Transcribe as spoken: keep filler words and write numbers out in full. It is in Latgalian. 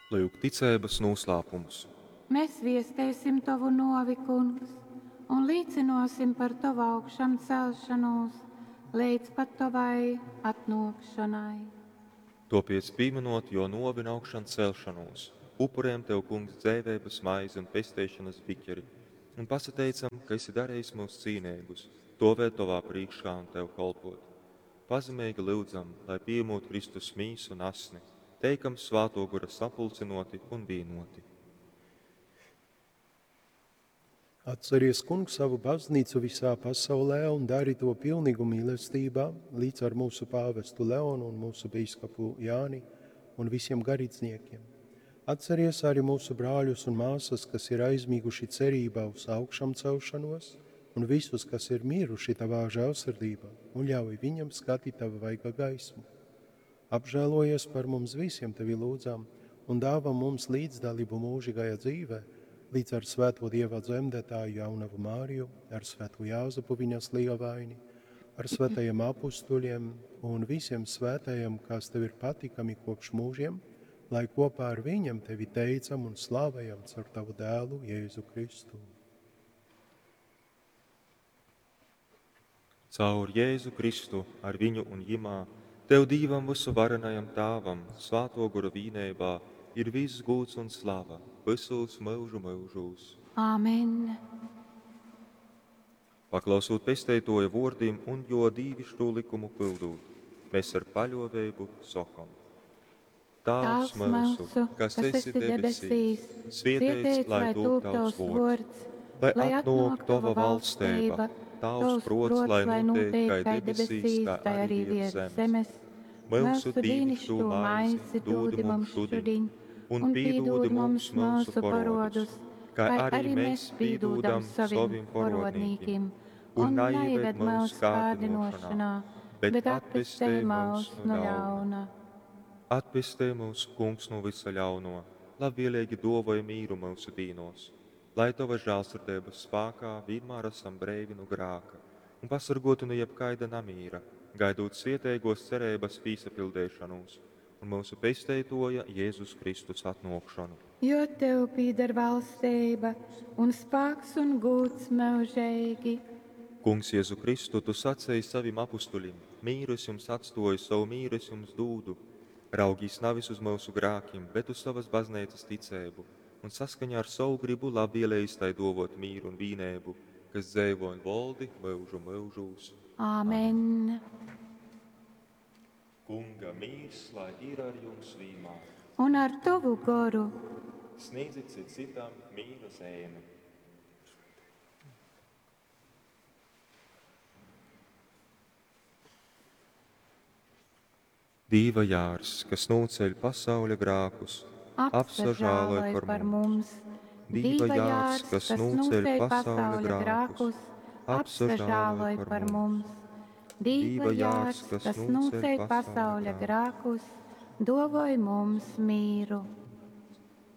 Lyuk ticeibas nūslāpums. Mes viesteisim tovu nōvi, Kungs, un līcynōsim par tovu augšamcelšonūs leidz pat tovai atnōkšonai. Tōpēc, pīmynot jō nōvi un augšancelšonūs, upurējam tev, Kungs, dzeiveibas maizi un pesteišonas biķeri, un pasateicam, ka esi darejis myus cīneigus, stovēt tovā prīškā un tev kolpot. Pazemeigi lyudzam, lai pījemūt Kristus mīsu un asni, teikam Svātō Gora sapulcynōti un vīnoti. Atceries, Kungs, savu baznīcu visā pasaulē un dari to pilnīgu mīlestībā līdz ar mūsu pāvestu Leonu un mūsu bīskapu Jāni un visiem garīdzniekiem. Atceries arī mūsu brāļus un māsas, kas ir aizmiguši cerībā uz augšamcelšanos, un visus, kas ir miruši tavā žēlsirdībā, un ļauj viņam skatīt tava vaiga gaismu. Apžēlojies par mums visiem, tevi lūdzam, un dāvā mums līdzdalību mūžīgajā dzīvē, līdz ar svēto Dieva dzemdētāju jaunavu Māriju, ar svēto Jāzepu viņas lielvaini, ar svētajiem apustuļiem un visiem svētajiem, kas tev ir patikami kopš mūžiem, lai kopā ar viņiem tevi teicam un slavējam caur tavu dēlu Jēzu Kristu. Caur Jēzu Kristu, ar viņu un jimā, tev Dīvam vysuvarenajam Tāvam, Svāto Gora vīneibā, ir viss gūds un slava visos myužu myužūs. Āmen. Paklausūt pesteitoja vōrdim un jo dīvišķo likumu pildūt, mēs ar paļoveibu sokom. Tāvs myusu, kas esi debesīs, svietēts, lai tūp tavs vōrds, lai atnōk tova valsteiba, tavs prots, lai notiek kai debesīs, tā arī virs zemes. Mūsu dīnišķo maizi dūdi mums šodien, un pīdūdi mums mūsu porodus, kā arī mēs pīdūdam savim porodnīkim, un naieved mūsu kārdinošanā, bet atpestē mūs no ļauna. Atpestē mūs, Kungs, no visa ļauno, labvēlīgi dāvāj mīru mūsu dīnos, lai tava žēlsirdības spēkā vienmēr esam breivi no grāka un pasargoti no jebkaida namīra, gaidot sieteigos cerības pīsapildēšanos un mūsu pesteitoja Jēzus Kristus atnākšanu. Jo tev pīdar valstība un spēks un gūds mūžīgi. Kungs Jēzu Kristu, tu sacēji savim apustuļim, mīru es jums atstoju, savu mīru es jums dūdu. Raugīs navis uz mūsu grākim, bet uz savas baznīcas ticēbu, un saskaņā ar savu gribu labvēlējis tai dovot mīru un vīnēbu, kas dzēvo un voldi mūžu mūžūs. Āmen. Kunga mīrs, lai ir ar jums vienmēr. Un ar tavu goru. Sniedzit cit citam mīra zēmi. Dīva jārs, kas nūceļ pasauļa grākus, apsažāloj par mums. Dīva jārs, kas nūceļ pasauļa grākus, apsažāloj par mums. Dīva jārs, kas nūceļ pasauļa grākus, dovoj mums mīru.